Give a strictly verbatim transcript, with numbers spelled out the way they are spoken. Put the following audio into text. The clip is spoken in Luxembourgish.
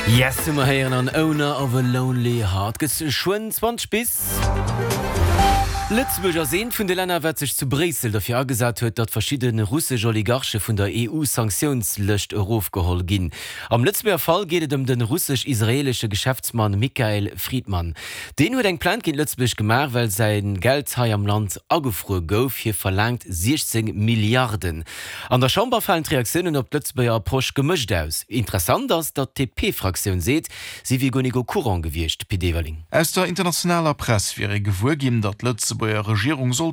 Yes, hu mer héieren an Owner of a Lonely Heart. Gëtt schonn zwanzeg bis. Lëtzebuerg ass eent vun de Länner, wat sech zu Bréissel dofir agesat huet, datt verschidde russesch Oligarche vun der E U-Sanktiounslëscht erofgeholl ginn. Am Lëtzebuerger Fall geet et ëm de russesch-israeelesche Geschäftsmann Michael Fridman. Deen huet eng Plainte géint Lëtzebuerg gemaach, well säi Geld hei am Land agefruer gouf. Hie verlaangt siechzéng Milliarden. An der Chamber falen d'Reaktiounen op d'Lëtzebuerger Approche gemëscht aus. Interessant ass, datt d'D P-Fraktioun seet, si wier guer net au courant gewiescht. Pit Everling. Aus der internationaler Press wier ee gewuer ginn, datt d'Lëtzebuerger Regierung soll